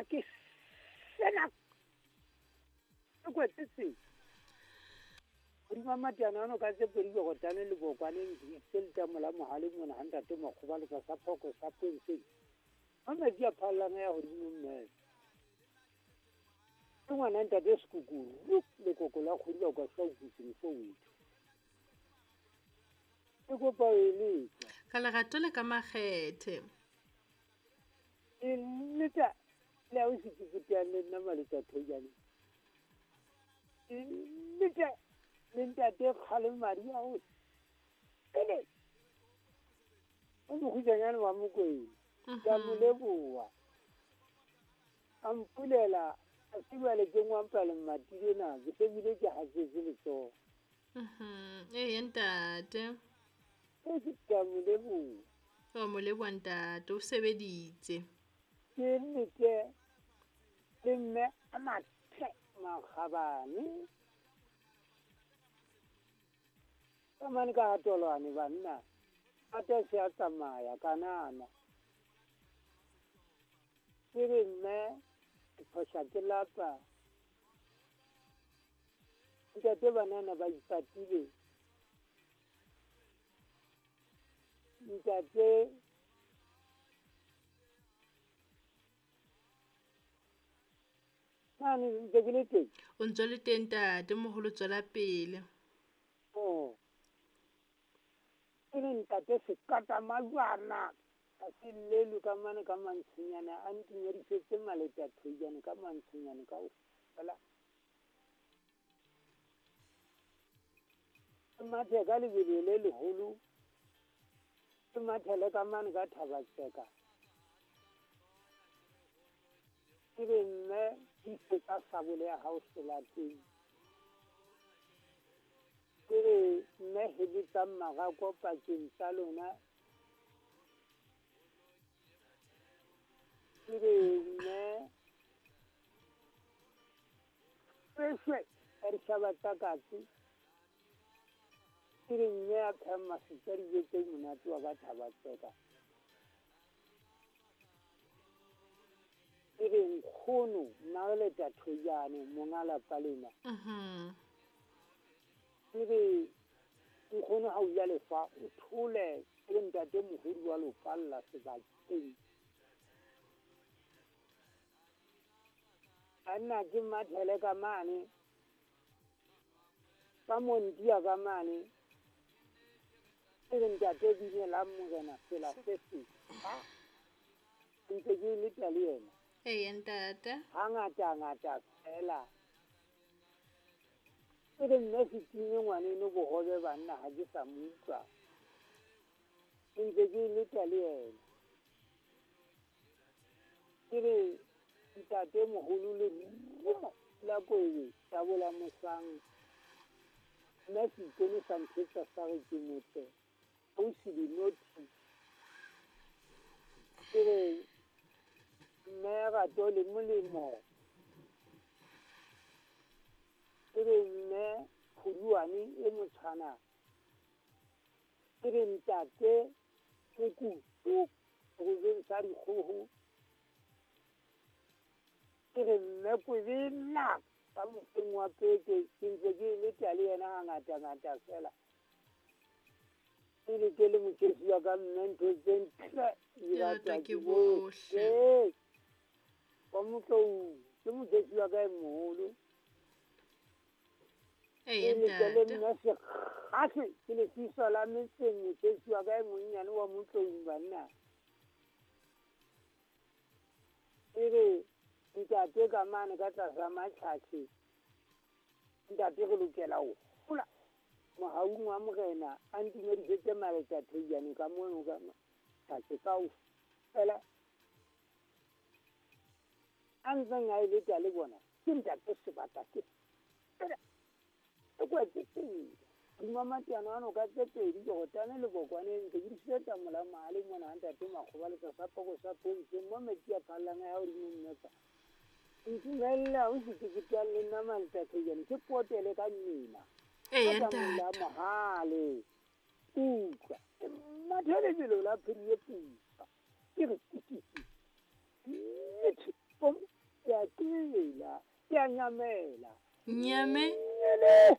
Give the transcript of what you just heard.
ke sena ke kwetse tsela. Hodima matiana ano ka tse pedi Jorotane le bokwaneng se letamo la mohale mona ha ntate Makgobaletsa sa phoko sa Ponseng. Ha metsi a phallang ya hodimo mme. Ke ngwana ntate Sekukuru lekoko la kgodi ba kwa sa utlwiseng fo wethu. Ke kopa o e letsa. Ka lerato le ka makgethe. E letsa le ha o se ke teang le nna Maletsa Thojane. E letsa le ntate Kgale madi a o pele. O mokgutshwanyane wa Mokwena. Ke a mo leboha. A mpulela a se jwale ke ngwampa le mmati lena ke se bile ke hatsetse letsoho. Ee ntate. E ke a mo leboha. O mo leboha ntate, o sebeditse. Ke nnete le mme a mathe makgabane. Ka mane ka hatolwane banna. Ate se a tsamaya kanana. Ke re mme ke phoša ke lapa. Ntate banana ba ipatile. Ntate mane ntse ke le teng. O ntse le teng ntate moholo, tswela pele. Oh. Ke re ntate sekata majwana a se llelwe ka mane ka mantshonyane a ntumedisetse Maleta Thojane ka mantshonyane kaofela. Ke mathe ka lebelo le leholo, ke mathele ka mane ka Thabatseka. Ke re mme tiisetsa sabole ya hao selateng. Ke re mme heletsang marako pakeng tsa lona. Ke re mme shweshwe ka ditjhaba tsa katse. Ke re mme a phehang masutsa dijo tse monate wa ka Thabatseka. Ke re nkgono Mmaleta Thojane monga lapa lena. Ke re nkgono ha o ja lefa o thole ke ntate mohodi wa lopalla sebakeng. Banna ke mathele ka mane ka montia ka mane. Ke re ntate bine la morena sela se se. Ntse ke leta le yena. Ee ntate. Hangata ngata fela. Ke re mme se time ngwaneno bohobe banna ha ke sa mo utlwa. Ntse ke leta le yena. Ke re ntate moholo le rumo la koebe tabola mosang. Mme se ikone sa nthetsa sa re ke motle. Ausi dinothi. Ke re mme rato le molemo. Ke re mme kgoduane e motshwana. Ke re ntate mokutu robeng sa dikgoho. Ke re mme kwebela ka mofeng wa peke ke ntse ke leta le yena hangata ngata fela. Ke le ke le mokesi wa ka mme ntho tse ntle di ratwa ke bohle. Wa Motlou ke mokesi wa ka e moholo. Ee Ke le ke le ntate. mme sekgase ke lefiso la metseng mokesi wa ka e monnyane wa Motlou banna. Ke re ntate ka mane ka tlasa matjhatjhe. Ntate re lokela ho hola mohaung wa morena a ntumedisetse Maleta Thojane ka mono ka matjhatjhe kaofela. A ntseng a e leta le bona ke ntate sebata ke fela. E kwetse tsela. Hodima matiana ano ka tse pedi Jorotane le bokwaneng ntse ke diseta mola mahale mona ha ntate Makgobaletsa sa poko sa Ponseng mo metsi a phallang a ya hodimo mmetsa. Ntumella o se ke teang le nna Maleta Thojane ke potele ka mmila. Ee Ka tamola ntate. mohale. Utlwa. Ke mathe lebelo la phiri e putswa. Ke re tititi. Nnete. tela, ke a nyamela. Nyame. Nyele.